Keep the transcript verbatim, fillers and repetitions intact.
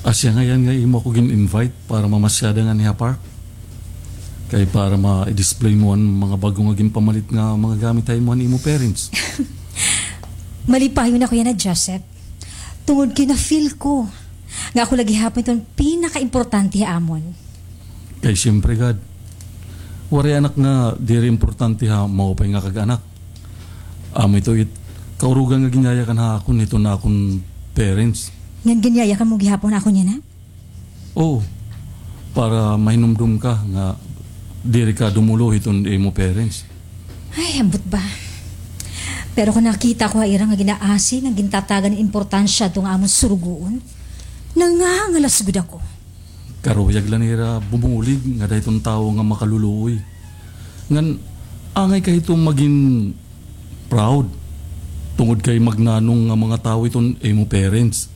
Asya ngay-an nga imo ako gin-invite para mamasyada nganhi ha park. Kay para ma-display mo an mga bag-o nga ginpamalit nga mga gamit ha imo han imo parents. Malipayon ako yana, Joseph. Tungod kay na-feel ko nga ako la gihapon iton pinakaimportante ha amon. Kay siyempre, gad, waray anak nga diri importante ha maupay nga kag-anak. Amo ito it kaurugan nga ginyayakan ha akon hiton akon parents. Ngan ginyayakan mo gihapon akon yana? Oo. Para mahinumdom ka nga diri ka dumulo hiton imo parents. Ay, ambot ba. Pero kon nakita ko ha ira nga ginaasi ngan gintatagan hin importansya adto nga amon surugoon, nangangalas gud ako. Karuyag la nira bumulig ngada hiton tawo nga makaluluoy. Ngan angay ka hito magin proud tungod kay magnanong nga mga tawo iton imo parents.